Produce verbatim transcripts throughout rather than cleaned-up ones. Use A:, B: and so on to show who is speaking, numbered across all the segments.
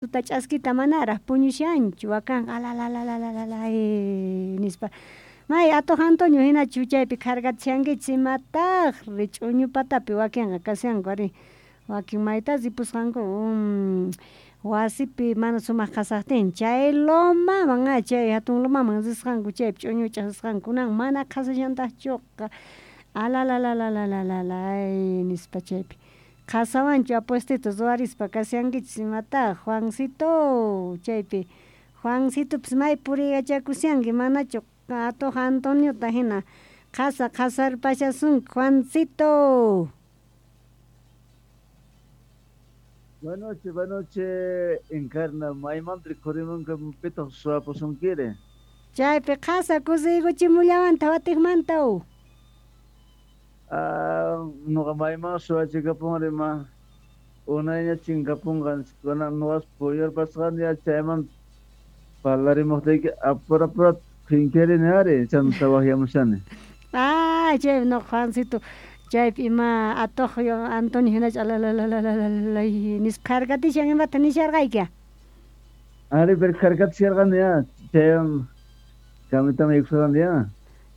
A: Tuta ch'askita manaraj puñushanchu wakanqa alalalalalala nispa may atuq Antonio hinachu chaypi kharkatishankichis imataqri ch'uñu patapi wakinqa kashanku ari wakin mayta ripusqanku wasipi mana sumaq qhasaqtin chay lomaman a chay hatun lomaman risqanku chaypi ch'uñu huch'aq risqanku kunan mana qhasallantaqchuqa alalalalalala nispa chaypi qhasawanchu apuestito ruwarispa kashankichis imataq Juancito chaypi Juancitopis may puriykachakushanki manachu atuq Antoniota hina qhasa qhasarpashasunki Juancito.
B: Buenas noches, buenas noches, Encarna. Maymanta rikhurimunqa pitaq suwapusunkiri?
A: Chaypi qhasa kusiykuchimullawanta watiqmanta.
B: Ah, nuqa mayman suwachikapunri ma unayña chinkapunqa kunan nuqas puyurpasqani chayman parlarimuqtiyki apura apura qhinkirini ari chanta waqyamushani.
A: Ah, chay nuqa Juancito chaypi ima atuq Antonio hinachu alalalalalala nispa kharkatishan imata nisharqayki.
B: Ari, pero kharkatisharqani ya chaywan kamitaman yaykusqani ya.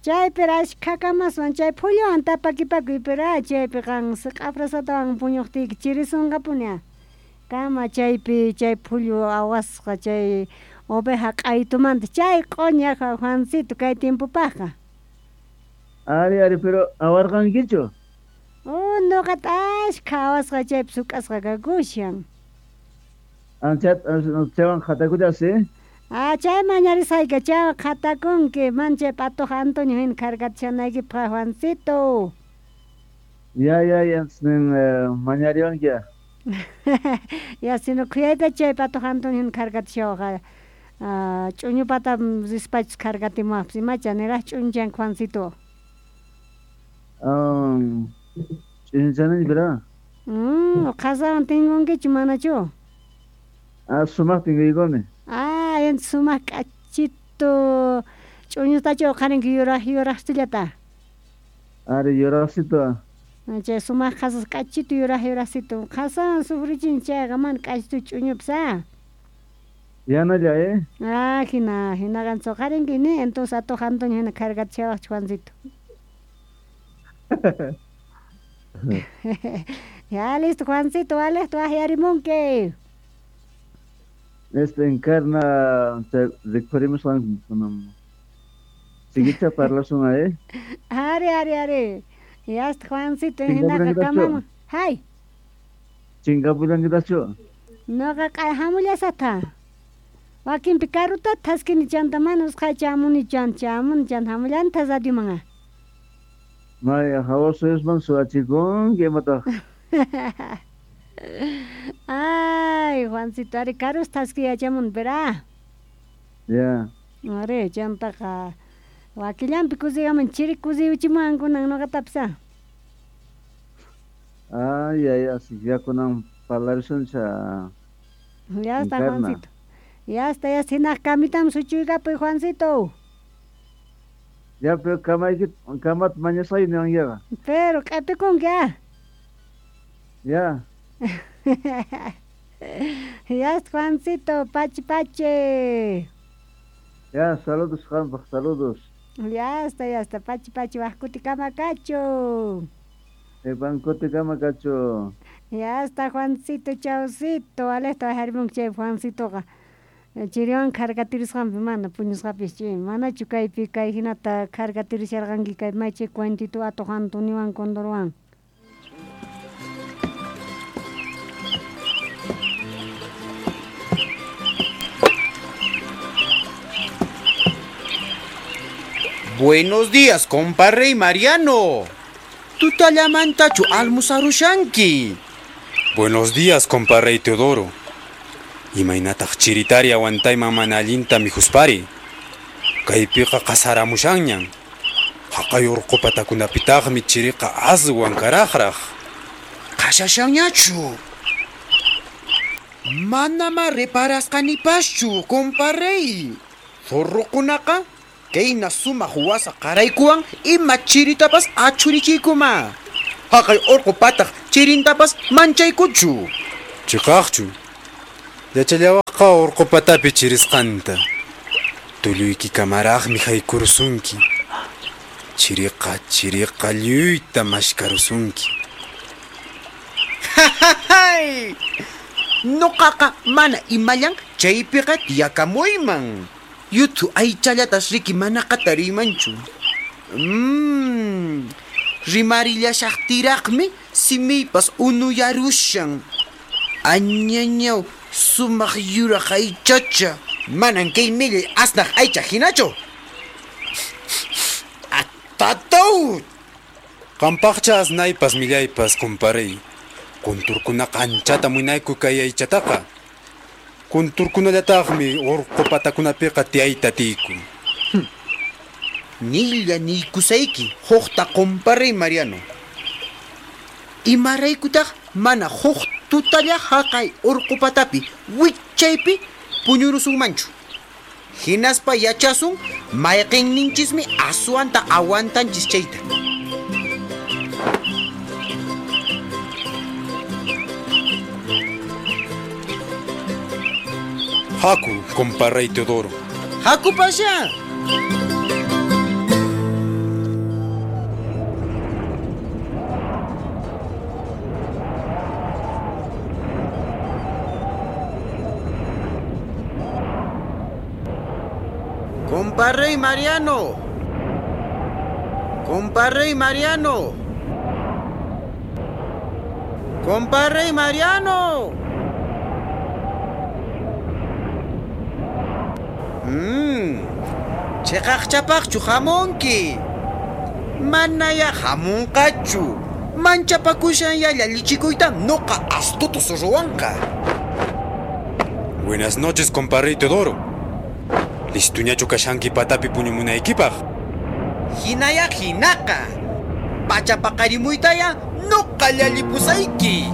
A: Chaypi ashkha kamaswan chay phulluwan tapakipakuy pero chaypi qan siq'afrasatawan puñuqtiyki chirisunqapuni kama chaypi chay phullu awasqa chay oveja q'aytumanta chay q'uñaqa Juancito kay tiempopaqqa.
B: Ari, ari, pero awarqankichu?
A: Oh, nuqata ashkha awasqa chaypi suk'asqa kakushan.
B: Anchat chaywan qhatakuchasi?
A: Ah, chay mañarisqayki chaywan qhatakunki man chay atuq Antonio hina kharkatishanaykipaq Juancito.
B: Ya, ya, ya, nin mañariwanki ya.
A: Ya, sino khuyayta chay atuq Antonio hina kharkatishawqa ch'uñu pata rispachus kharkatimuwaqpis imacha niraq ch'unchanki Juancito.
B: Um, ch'unchanani pero.
A: Mm, qhasawan tinkunkichu manachu?
B: Ah, sumaq tinkuykuni.
A: Ah, entonces sumaq k'achitu ch'uñutachu uqharinki yuraq yuraqsillata.
B: Ari, yuraqsito.
A: Chay sumaq qhasas k'achitu yuraq yuraqsito qhasawan sufrichin chayqa mana k'achitu ch'uñupis ah.
B: Yanalla, eh?
A: Ah, hina, hinaqa uqharinki ni entonces atuq Antonio hina kharkatishawaqchu Juancito. Ya listo Juancito, walejta waqyarimunki.
B: Este Encarna rikhurimusqanku siguicha parlasun eh.
A: Ari, ari, ari. Ya está Juancito hinaqa kamaman. Hay.
B: Chinkapullankitachu?
A: Nuqa hamullasata. Wakinpi karuta thaskini chanta mana usqhaycha chamuni chan chamuni chan hamullanta radioman.
B: May hawa suyusman suwachikunki imataq.
A: Ay, Juancito, ari karus thaski yachamun, pero.
B: Ya.
A: Ari, chantaqa wakillanpi kusiykaman chiri kusiyuchimuwan kunan nuqatapis.
B: Ay, ay, así ya kunan parlarisuncha.
A: Ya está, Juancito. Ya está, ya está, hinaq kamitam suchuykapuy, Juancito.
B: Ya, pero kamayki kamat mañasqay niwankiqa.
A: Pero q'apikunki ah.
B: Ya.
A: Ya está, Juancito, pachi pachi.
B: Ya, saludos, qampaq, saludos.
A: Ya está, ya está, pachi pachi, waq kutikama kachu.
B: Qhipan kutikama kachu.
A: Ya está, Juancito, chawsito, walejta waqyarimunki chay Juancitoqa. Chiriwan kharkatirisqanpi mana puñusqapis chay manachu kaypi kay hinata kharkatirisharqanki kay may chay cuentito atuq Antoniowan Condorwan.
C: Buenos días, comparrey Mariano. Tutallamantachu almusarushanki.
D: Buenos días, comparrey Teodoro. Imaynataq chiritari aguantayman mana allinta mijuspari. Kaypiqa qasaramushanñan. Haqay urqu patakunapitaqmi chiriqa aswan karaqraq.
C: Qashashanñachu. Manama reparasqanipaschu, comparrey. Zorrukunaqa kayna sumaq wasa qaraykuwan ima chiritapas achurichiykuma. Haqay urqu pataq chirintapas manchaykuchu.
D: Chiqaqchu. Yachallawaqqa urqu patapi chirisqanta. Tulluyki kamaraqmi haykurusunki. Chiriqa chiriqa lluyta mashkarusunki.
C: ¡Jajajay! Noqaqa mana imallan chaypiqa tiyakamuyman. Yuthu aychallatas riki manaqa tariymanchu. Mmm, rimarillashaqtiraqmi simiypas unuyarushan. Añañaw, sumaq yuraq aychacha. Manan kay millay asnaq aycha hinachu. Atataw!
D: Qampaqcha asnaypas millaypas, kumparay. Kunturkunaqa anchata munayku kay aychataqa. Kunturkunallataqmi urqu patakunapiqa tiyayta tiyku.
C: Nilla niykusayki huqta kumparay Mariano. Imaraykutaq mana huq tutalla haqay urqu patapi wichaypi puñurusunmanchu. Hinaspa yachasun mayqinninchismi aswanta aguantanchis chayta.
D: Haku, comparrey Teodoro.
C: Haku pasha. Comparrey Mariano. Comparrey Mariano. Comparrey Mariano. Mmm. Chiqaqchapaqchu hamunki. Manaya hamunqachu. Manchapakushan ya llallichikuyta noqa astuto ruwanqa.
D: Buenas noches, comparrey Teodoro. Listuñachu kashanki patapi puñumunaykipaq.
C: Hinaya hinaqa. Pachapaqarimuytaya noqa llallipusayki.